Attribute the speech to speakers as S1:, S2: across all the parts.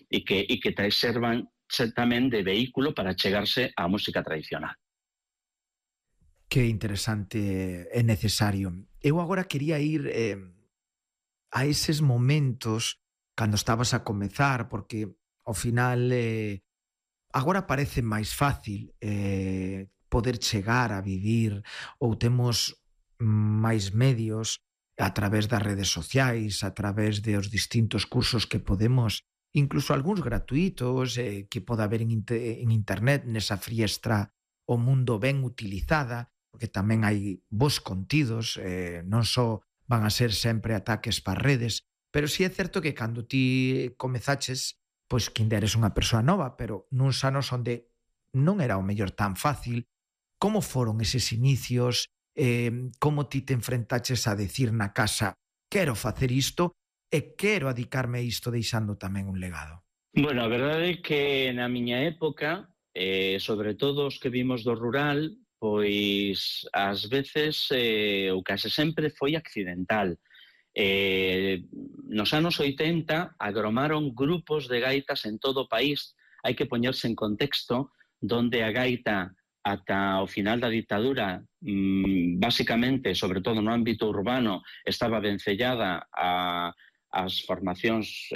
S1: que te servan tamén de vehículo para chegarse á música tradicional.
S2: Que interesante e necesario. Eu agora quería ir a eses momentos cando estabas a comezar, porque ao final agora parece máis fácil poder chegar a vivir ou temos máis medios a través das redes sociais, a través dos distintos cursos que podemos, incluso algúns gratuitos que pode haber en internet nesa friestra o mundo ben utilizada, porque tamén hai bons contidos, non só van a ser sempre ataques para redes, pero sí é certo que cando ti comezaches, pois que ainda eres unha persoa nova, pero nuns anos onde non era o mellor tan fácil. Como foron eses inicios? Como ti te enfrentaches a decir na casa quero facer isto e quero adicarme a isto deixando tamén un legado?
S1: Bueno, a verdade é que na miña época, sobre todo os que vimos do rural, pois ás veces, ou case sempre, foi accidental. Nos anos 80 agromaron grupos de gaitas en todo o país. Hai que poñerse en contexto donde a gaita ata o final da ditadura, básicamente, sobre todo no ámbito urbano, estaba vencellada ás formacións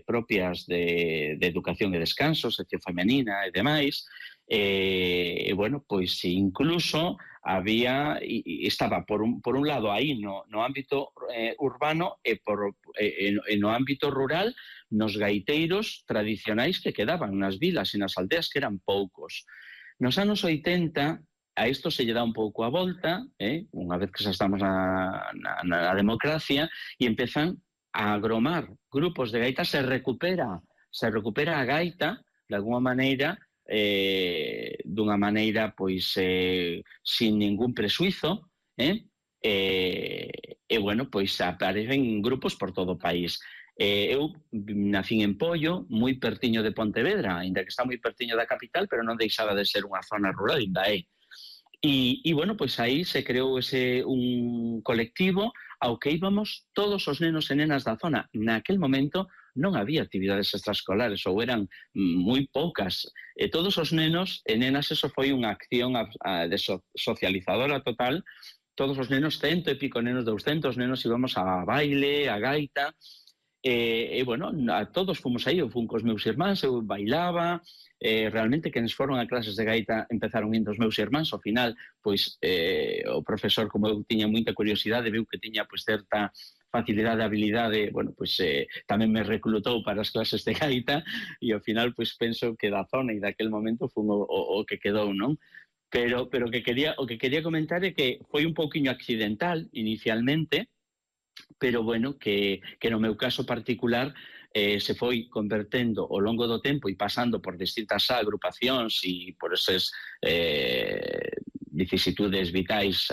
S1: propias de educación e descanso, sección femenina e demais. Bueno, pois incluso había, estaba por un lado aí no ámbito urbano e no ámbito rural, nos gaiteiros tradicionais que quedaban nas vilas e nas aldeas, que eran poucos. Nos anos 80 a isto se lle dá un pouco a volta, unha vez que xa estamos na democracia, e empezan a agromar grupos de gaitas, se recupera a gaita de alguma maneira, dunha maneira pois sin ningún presuizo, bueno, pois aparecen grupos por todo o país. Eu nacín en Pollo, moi pertiño de Pontevedra, aínda que está moi pertiño da capital, pero non deixaba de ser unha zona rural, ainda é. E bueno, pois aí se creou un colectivo ao que íbamos todos os nenos e nenas da zona. Naquel momento non había actividades extraescolares, ou eran moi poucas. E todos os nenos e nenas, eso foi unha acción socializadora total. Todos os nenos, 100 e pico nenos, 200 nenos, íbamos a baile, a gaita, bueno, a todos fomos aí. Eu fun cos meus irmáns, eu bailaba, realmente quenes foron a clases de gaita empezaron indo os meus irmáns. Ao final, pois, o profesor, como eu tiña moita curiosidade, viu que tiña pois certa facilidade, habilidade, bueno, pois tamén me reclutou para as clases de gaita, e ao final, pois penso que da zona e daquel momento fun o que quedou, non? Pero o que quería comentar é que foi un pouquiño accidental inicialmente, pero bueno, que no meu caso particular se foi convertendo ao longo do tempo e pasando por distintas agrupacións e por eses vicisitudes vitais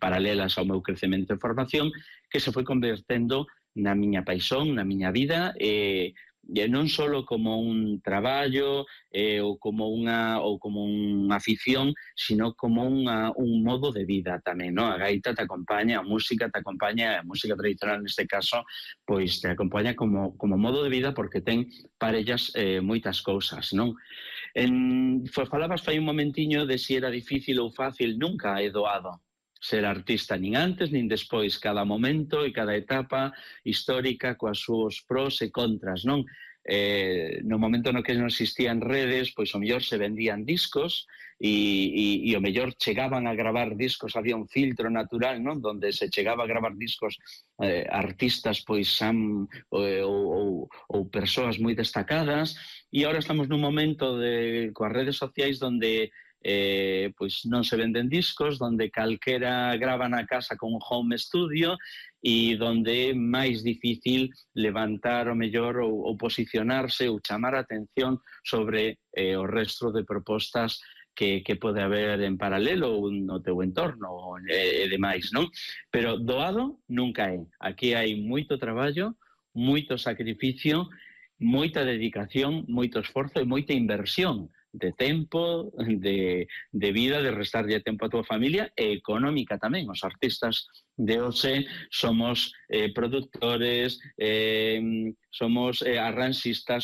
S1: paralelas ao meu crecemento e formación, que se foi convertendo na miña paixón, na miña vida, non só como un traballo ou como unha afición, sino como un modo de vida tamén, non? A gaita te acompaña, a música te acompaña, a música tradicional neste caso, pois te acompaña como modo de vida, porque ten parellas moitas cousas, non? Falabas fai un momentiño de si era difícil ou fácil. Nunca é doado ser artista, nin antes nin despois. Cada momento e cada etapa histórica coas súas pros e contras, non? No momento no que non existían redes, pois o mellor se vendían discos e o mellor chegaban a gravar discos, había un filtro natural, non? Donde se chegaba a gravar discos artistas pois ou persoas moi destacadas, e agora estamos nun momento coas redes sociais donde pois non se venden discos, donde calquera grava na casa con un home studio, e donde é máis difícil levantar o mellor ou posicionarse ou chamar a atención sobre o resto de propostas que pode haber en paralelo ou no teu entorno e demais, non? Pero doado nunca é. Aquí hai moito traballo, moito sacrificio, moita dedicación, moito esforzo e moita inversión de tempo, de vida, de restarlle tempo a túa familia, e económica tamén. Os artistas de hoxe somos productores, somos arranxistas,